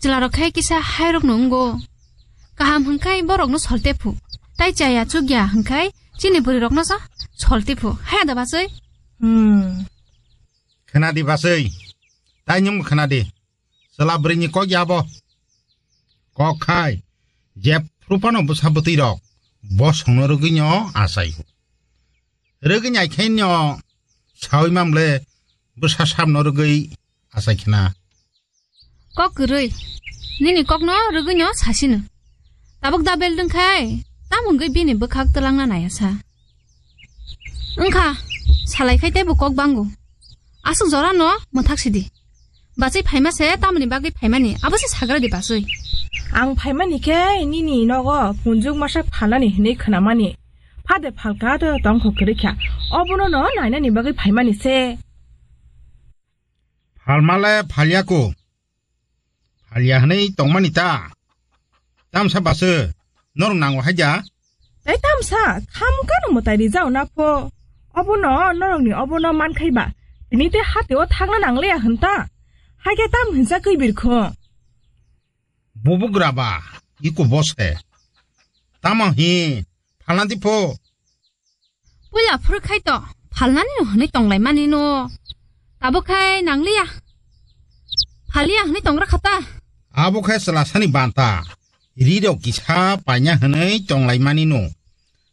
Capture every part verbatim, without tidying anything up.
Chwlarok khai kisa hairokno wngo. Kaham hwnkhai borokno solte phu. Tai chaya chukya hwnkhai chini bwrwirokno sa solte phu. Haya da bachwi? Hmm. Khwnadi bachwi. Tai nwng khwnadi. Chwla bwrwini kok ya bo. Kok khai, jephru phano bwsa bwtwi rok, bosongno rwgwino achai. Rwgwini aikhaino sawi mamle bwsa samno rwgwi achai khna. Kok kwrwi, nini kokno rwgwino sasino. Tabuk da beldwng khai, tamo wngwi bini bwkhak twlangna naiya sa. Wngkha, salai khai teibo kok bango. Aswk jorano mwthak sidi. Bachwi phaima se tamoni bagwi phaimani, abo se sagra di bachwi. Ang phaimani khe nini nogo punjuk masa phalnani hinwi khwnamani. Phade phalka do tongkho kwrwi kha. Obono no nainani bagwi phaimani se. Phalmale phalyako. Phalya hwnwi tongmani ta? Tamsa baso norok nango haida? Tei tamsa khamkano mwtai rijao na pho. Obono norokni obono mankhai ba. Tini tei hatio thangna nangliya hwn ta. Haikhe tam hinsa kwi birkho. Bubugra ba, iko bose. Tamo hi, phalna di pho. Puila phuru khai to, phalnani no hwnwi tonglaimani no. Tabuk khai nangliya. Phaliya hwnwi tongra khata. Abo khai chwlasani banta. Rirok kisa paina hwnwi tonglaimani no.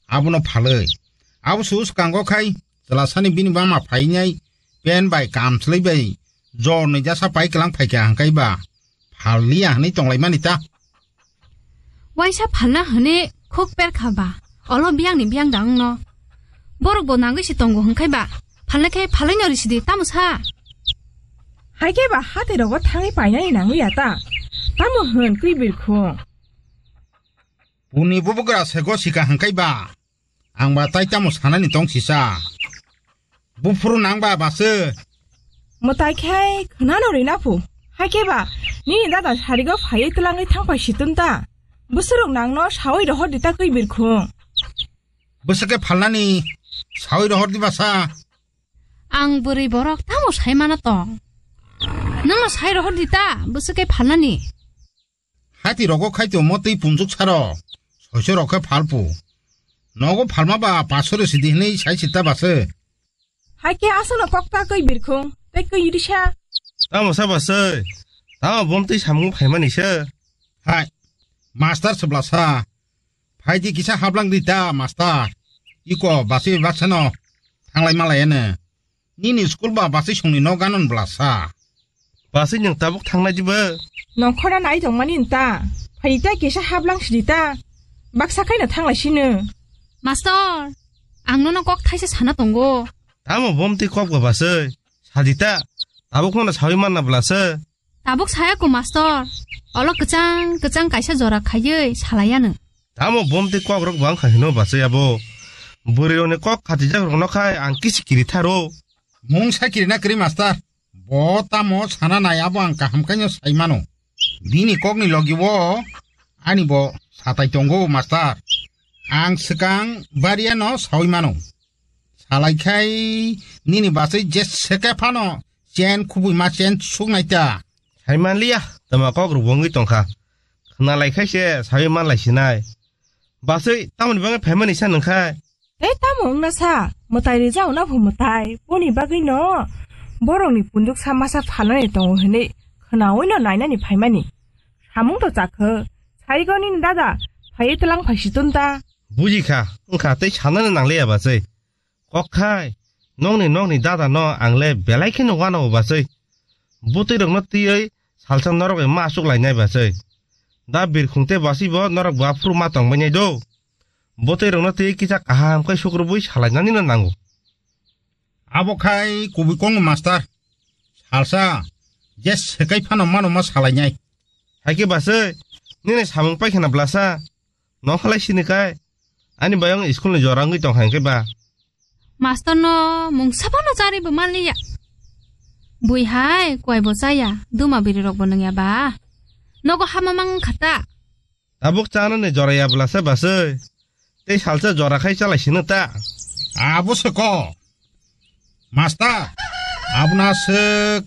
Abono phalwi. Abo su swkango khai chwlasani bini mama phainai pen bai kamslai bai jorni jasa pai kwlang phaikha hwnkhe ba. Phalliya hwnwi tonglaimani ta. Waisa phalna hwnwi khuk perkha ba, olo biyangni biyang da wngno. Borok bo nangwi se tongo hwnkhai ba, phalna khe phalwi no risidi tamo sa. Haikhe ba hate rogo thangwi painani nangliya ta. Tamo hwn kwi birkhung. Puni bubugra sego sika hwnkhai ba. Ang ba tai tamo sanani tong sisa. Buphuru nang ba base. Mwtai khai khwnano rina phu. Haikhe ba, nini dada sarigo phaiwi twlangwi thangpai situn ta. Bwswrwk nangno sawi rohor di ta kwi birkhung. Bwswk khe phalnani sawi rohor di basa. Ang bwrwi borok tamo sai mana tong. Nangno sai rohor di ta, bwswk khe phalnani. Hati rogo khai tongmo twi punjuk saro. Soiso rok khe phalpu. Nogo phalma ba pasore sidi hinwi sai sita base. Haikhe aswkno kok ta kwi birkhung, tei kwi risa. Tamo sa base. Tamo bom twi samung phaimani se. Hai. Master sebla sa. Phaidi kisa hablang di ta, master. Iko basi baksano. Thanglai malai ene. Nini school ba basi songni no ganon bla sa. Basi nwng tabuk thangnai diba? Nongkhora nai tongmani nta. Phaita kisa hablang sidi ta. Baksa khaina thanglai sino. Master, ang nono kok thaisa sana tongo. Tamo bom twi kok ba basi? Sadi ta. Tabuk no sawi manna bla se. Tabuk saya ko master. Olo kwchang kwchang kaisa jora khaiwi salaiya nwng. Tamo bom twi kok rok bang kha hino basi abo. Bwrwi rokni kok khatijak rokno khai ang kisi kiri tharo. Mung sa kiri na kiri master. Bo tamo sana nai abo ang kaham kaino sai mano. Bini kokni logi o ani bo satai tongo master. Ang swkang bariano sawi mano. Salai khai nini basai je seke phano chen khubui ma chen suk nai ta. Sai man liya, tama kok rok wngwi tong kha. Khna lai khai se sawi man lai sinai. Basai tamoni bagwi phaimani sa nung khai. Tei tamo wngna sa, mwtai rijao na phu mwtai, boni bagwi no borokni punduk sa masa phalnani tongo hinwi khnaui no nainani phaimani. Samung to chakho, saigo nini dada, phaiwi twlang phai si tun ta. Buji kha, wng kha tei sanani nang liya basai. Kok khai, nokni nokni dada no ang le belai kheno uanao basai. Bwtwi rokno twiwi salsa norok bai ma achuk lainai basai. Da birkhung tei basai bo norok bo aphuru ma tong bainai do. Bwtwi rokno twiwi kisa kaham khe sukrubui salainani no nango. Abo khai kubui kongo master. Salsa, je sekai phano mano ma salainai. Hai khe basai, nini samung pai khna blasa. Nokhalai sini kai. Ani bayong school ni jora wngwi tong hai khe ba. Master no mungsa phano chari bo manliya. Bui hai koi bo chaya, duma biri rok bo nungya ba. Nogo hama mang khata. Tabuk chanani jora ya blasa basai. Tei salsa jora khai chalai sino ta. Abo se ko. Master, abuna se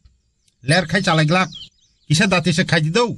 ler khai chalai glak. Kisa dati se khai di do.